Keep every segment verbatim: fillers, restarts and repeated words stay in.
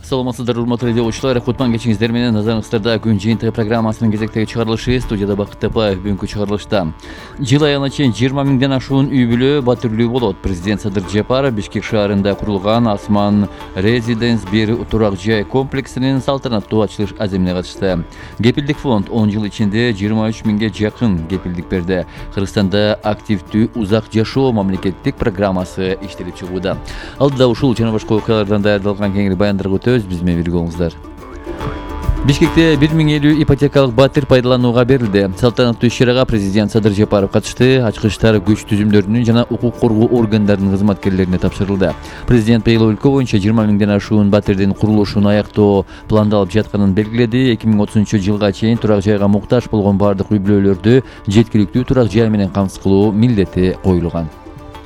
Саламатсыздар, урматтуу радио окуучулар. Кутман кечиңиздер менен. Назарыңыздарда күн жыйынтыгы программасынын кезектеги чыгарылышы. Студияда Бакыт Тапаев. Бүгүнкү чыгарылышта жыл аягына чейин жыйырма миңден ашуун үй бүлө батирлүү болот. Президент Садыр Жапаров Бишкек шаарында курулган Асман Резиденс бир турак жай комплексинин салтанаттуу ачылыш аземине катышты. Кепилдик фонд он жыл ичинде жыйырма үч миңге жакын кепилдик берди. Кыргызстанда активдүү узак жашоо мамлекеттик программасы иштелип чыгууда. Алдыда ушул жана башка окуялардан даярдалган кеңири баяндарга өтөбүз. Биз менен бирге болуңуздар. Бишкекте бир миң элүү ипотекалык батир пайдаланууга берилди. Салтанаттуу иш-чарага президент Садыр Жапаров катышты. Ачкычтар күч түзүмдөрүнүн жана укук коргоо органдарынын кызматкерлерине тапшырылды. Президент быйыл өлкө боюнча жыйырма миңден ашуун батирдин курулушун аяктоо пландалып жатканын белгиледи. эки миң отузунчу жылга чейин турак жайга муктаж болгон бардык үй бүлөлөрдү жеткиликтүү турак жай менен камсыз кылуу милдети коюлган.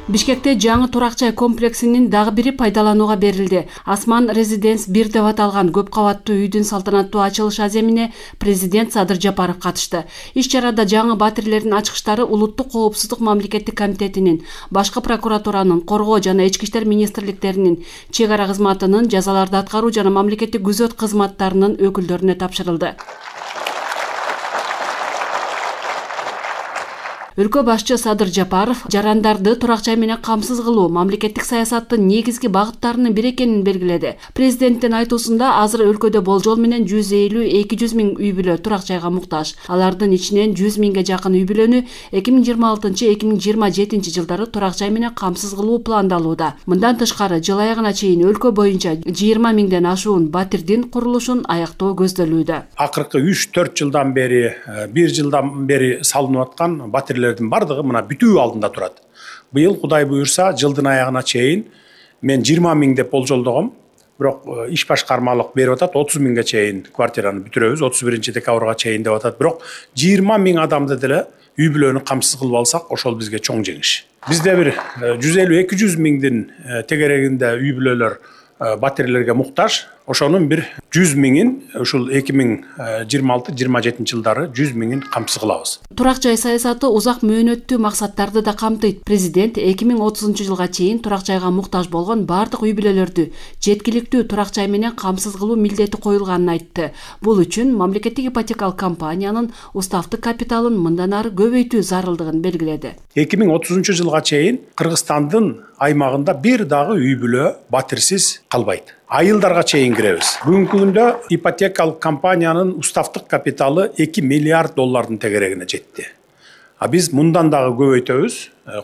Бишкекте жаңы турак жай комплексинин дагы бири пайдаланууга берилди. Асман Резиденс бир деп аталган көп кабаттуу үйдүн салтанаттуу ачылыш аземине президент Садыр Жапаров катышты. Иш-чарада жаңы батирлердин ачкычтары Улуттук коопсуздук мамлекеттик комитетинин, башкы прокуратуранын, коргоо жана ички иштер министрликтеринин, чек ара кызматынын, жазаларды аткаруу жана мамлекеттик күзөт кызматтарынын өкүлдөрүнө тапшырылды. Өлкө башчы Садыр Жапаров жарандарды турак жай менен камсыз кылуу мамлекеттик саясаттын негизги багыттарынын бири экенин белгиледи. Президенттин айтуусунда азыр өлкөдө болжол менен жүз элүү эки жүз миң үй бүлө турак жайга муктаж. Алардын ичинен жүз миңге жакын үй бүлөнү эки миң жыйырма алтынчы эки миң жыйырма жетинчи жылдары турак жай менен камсыз кылуу пландалууда. Мындан тышкары жыл аягына чейин өлкө боюнча жыйырма миңден ашуун батирдин курулушун аяктоо көздөлүүдө. Акыркы үч төрт жылдан бери, бир жылдан бери салынып аткан батир бардыгы мына бүтүү алдында турат. Быйыл Кудай буюрса жылдын аягына чейин мен жыйырма миң деп болжолдогом. Бирок иш башкармалык берип атат отуз миңге чейин квартираны бүтүрөбүз, отуз биринчи декабрга чейин деп атат. Бирок жыйырма миң адамды деле үй бүлөнү камсыз кылып алсак, ошол бизге чоң жеңиш. Бизде бир жүз элүү эки жүз миңдин тегерегинде үй бүлөлөр батирлерге муктаж. Ошонун бир жүз миңин ушул эки миң жыйырма алты жыйырма жетинчи жылдары жүз миңин камсыз кылабыз. Турак жай саясаты узак мөөнөттүү максаттарды да камтыйт. Президент эки миң отузунчу жылга чейин турак жайга муктаж болгон бардык үй бүлөлөрдү жеткиликтүү турак жай менен камсыз кылуу милдети коюлганын айтты. Бул үчүн мамлекеттик ипотекалык компаниянын уставдык капиталын мындан ары көбөйтүү зарылдыгын белгиледи. эки миң отузунчу жылга чейин Кыргызстандын аймагында бир дагы үй бүлө батирсиз калбайт. Айылдарга чейин киребиз. Бүгүнкү күндө ипотекалык компаниянын уставдык капиталы эки миллиард доллардын тегерегине жетти. А биз мындан дагы көбөйтөбүз.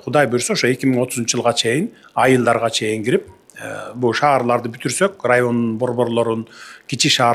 Кудай буйрса ошо эки миң отузунчу жылга чейин айылдарга чейин кирип, бул шаарларды бүтүрсөк, райондун борборлорун, кичи шаар